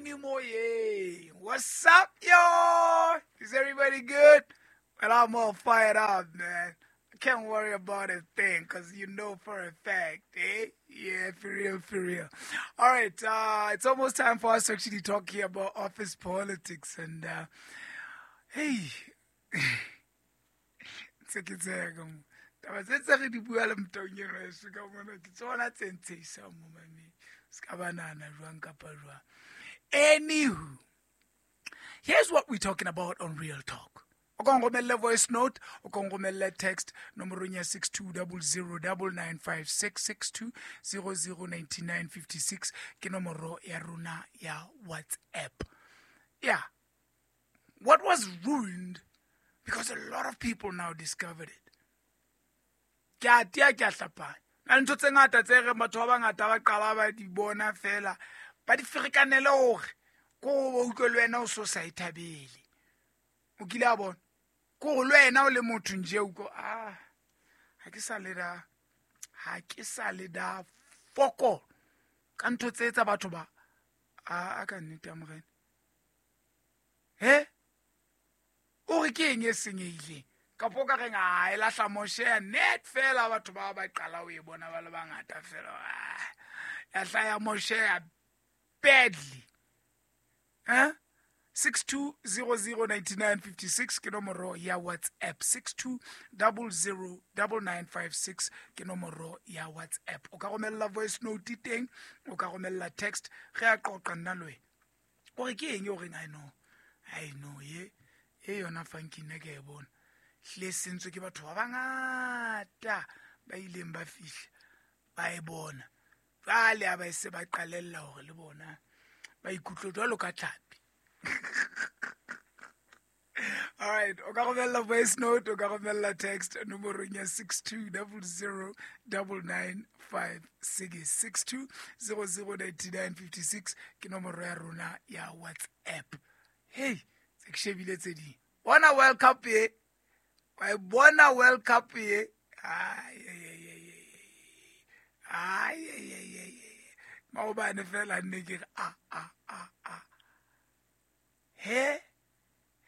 kene moyeng. What's up, yo? Is everybody good? Well, I'm all fired up, man. I can't worry about a thing because you know for a fact, eh? Yeah, for real, for real. All right, it's almost time for us to actually talk here about office politics. And, hey, tse ke tseka mo. Taba tse tse re di bua le motaung eno heso ka mona, ke tsona tse ntshehisang mo mameng. Se ka ba nahana jwang kapa jwang. Anywho, here's what we're talking about on Real Talk. O ka nromelle voice note, o ka nromelle text nomorong ya 62009956, 62009956 ke nomoro ya rona ya WhatsApp. Yeah. What was ruined because a lot of people now discovered it. Ke a tia, ke a hlapanya. Na le ntho tse ngata tse reng batho ba bangata ba qala ba di bona fela, ba di ferekanele hore ko o utlwe le wena o so sa e thabele. O kile a bona? Ko hore le wena o le motho nje o utlwe, ha ke sa le da, ha ke sa le da foko ka ntho tse tsa batho ba. A ka nnete ya Morena. He? O re ke eng e senyehileng? Kapo ka reng, e lahla moshe net fela batho ba ba qala ho e bona ba le bangata fela. Ya hlaya moshe badly. Huh? 62009956 ke nomoro ya WhatsApp. 62009956 ke nomoro ya WhatsApp. O ka romella voice note teng, o ka romella text, re a qoqa nna le wena. O re ke eng o reng, I know. I know ye. E yona funky nna ke a e bona. Hlile sentswe ke batho ba bangata ba ileng ba fihla ba e bona. Jwale ha ba se ba qalella hore le bona ba ikutlwe jwalo ka tlhapi. All right, o ka romella voice note, o ka romella text nomorong ya 62009956, 62009956 ke nomoro ya rona ya WhatsApp. Hey, tse ke shebile tse ding. Bona World Cup ye. Wa e bona World Cup ye. Ai, ai, ai, ai, ai, ai, ai, ai, ai. Maobane fela nne ke re, a, a, a, a. He,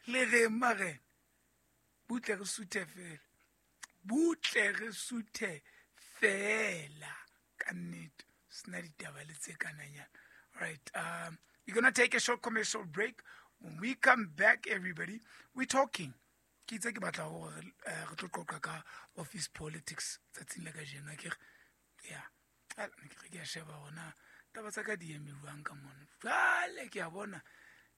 le re marena, butle re suthe fela. Butle re suthe fela. Ka nnete, sena ditaba le tse kananyana. All right, we're going to take a short commercial break. When we come back, everybody, we're talking. Ke itse ke batla hore re tlo qoqa ka office politics tsatsing la kajeno, akere? Yeah. Ne ke re ke a sheba hore na taba tsa ka di eme jwang ka mona. Jwale ke a bona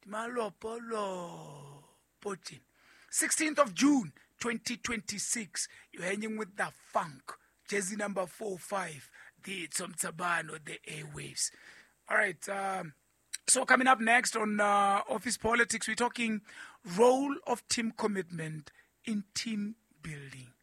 di malopolopo tjena. 16th of June 2026, you're hanging with the funk. Jersey number 45, the Tsomtsabano, the airwaves. All right, so coming up next on Office Politics, we're talking role of team commitment in team building.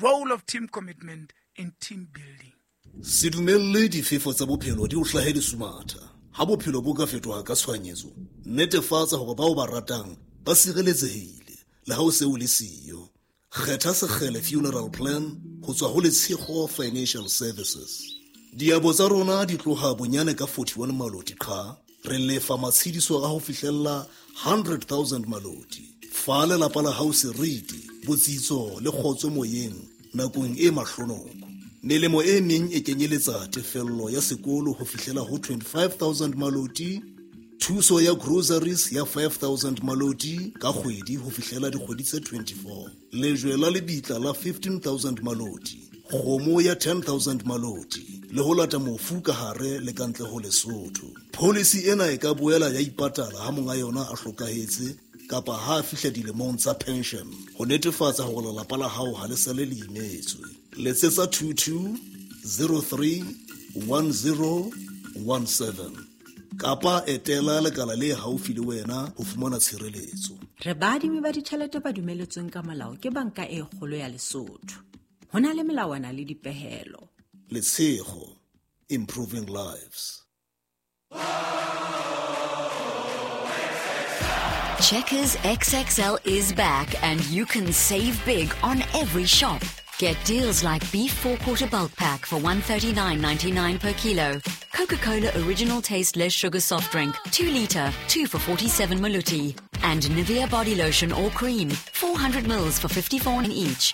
Role of team commitment in team building. Se dumelle difefo tsa bophelo di o hlahe lesumatha. Ha bophelo bo ka fetoha ka tshohanyetso, netefatsa hore bao ba ratang ba sireletsehile le ha o se o le siyo. Kgetha Sekgele Funeral Plan ho tswa ho Letshego Financial Services. Diabo tsa rona di tloha bonyane ka 41 maloti qha, re lefa matshediso a ho fihlella 100,000 maloti. Fa lelapa la hao seriti, botsitso le kgotso moyeng nakong e mahlonoko. Melemo e meng e kenyeletsa tefello ya sekolo ho fihlela ho 25,000 maloti, thuso ya groceries ya 5,000 maloti ka kgwedi ho fihlela dikgwedi tse 24, lejwe la lebitla la 15,000 maloti, kgomo ya 10,000 maloti, le ho lata mofu ka hare le ka ntle ho Lesotho. Policy ena e ka boela ya ipatala ha monga yona a hlokahetse kapa ha a fihla dilemong tsa pension, ho netefatsa hore lelapa la hao ha le sale le imetswe. Letsetsa 22031017 kapa etela lekala le haufi le wena ho fumana tshireletso. Re baadimi ba ditjhelete ba dumeletsweng ka molao ke banka e kgolo ya Lesotho. Ho na le melawana le dipehelo. Letshego, improving lives. Checkers XXL is back and you can save big on every shop. Get deals like beef 4-quarter bulk pack for $139.99 per kilo, Coca-Cola Original Taste Less Sugar Soft Drink, 2 liter, 2 for 47 maluti. And Nivea Body Lotion or Cream, 400 mils for 54 in each.